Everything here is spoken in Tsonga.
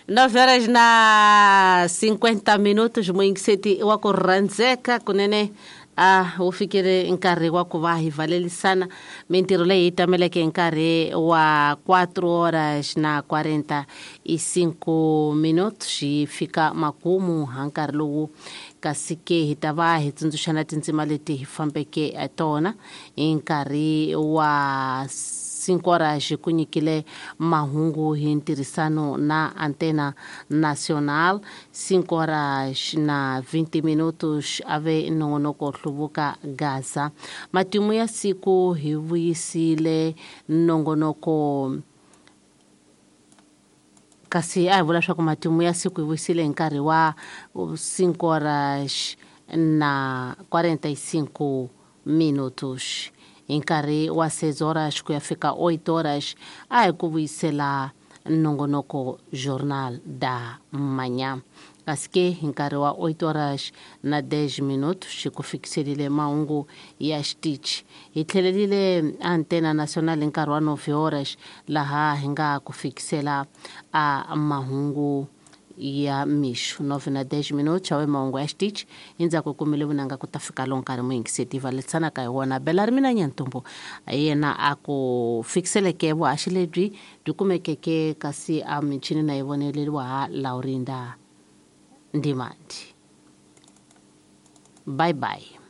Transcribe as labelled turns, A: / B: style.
A: 9 horas na 50 minutos muyingiseti wa ku rhandzeka kunene a wu fikile nkarhi wa ku va hi valelisana mintirho leyi hi tameleke hi nkarhi wa 4 horas na 45 minutos yi fika makumu ha nkarhi lowu kasi ke hi ta va hi tsundzuxana tindzima leti hi fambeke tona hi nkarhi wa 5 horas ku nyikile mahungu hi ntirhisano na Antena Nacional. 5 horas na 20 minutos ave nongonoko hluvuka Gaza. Matimu ya siku hi vuyisile nongonoko kasi a hi vula leswaku matimu ya siku hi vuyisile hi nkarhi wa 5 horas na 45 minutos. Hi nkarhi wa 6 horas ku ya fika 8 horas a hi ku vuyisela nongonoko Jornal da Manhã. Kasi ke hi nkarhi wa 8 horas na 10 minutos xi ku fikiselile mahungu ya xitichi. Hi tlhelelile Antena Nacional hi nkarhi wa 9 horas laha hi nga ku fikisela a mahungu ya mixo 9 na 10 minutos awe mahungu ya xitichi. Endzhaku hi kumile vunanga ku ta fika lo nkarhi muyingiseti valesanaka hi wona bela ri mina Nyantombo yena a ku fikiseleke vuhaxi lebyi byi kumekeke kasi a michini na yi voneleriwa ha Laurinda Ndimandi. Bye bye.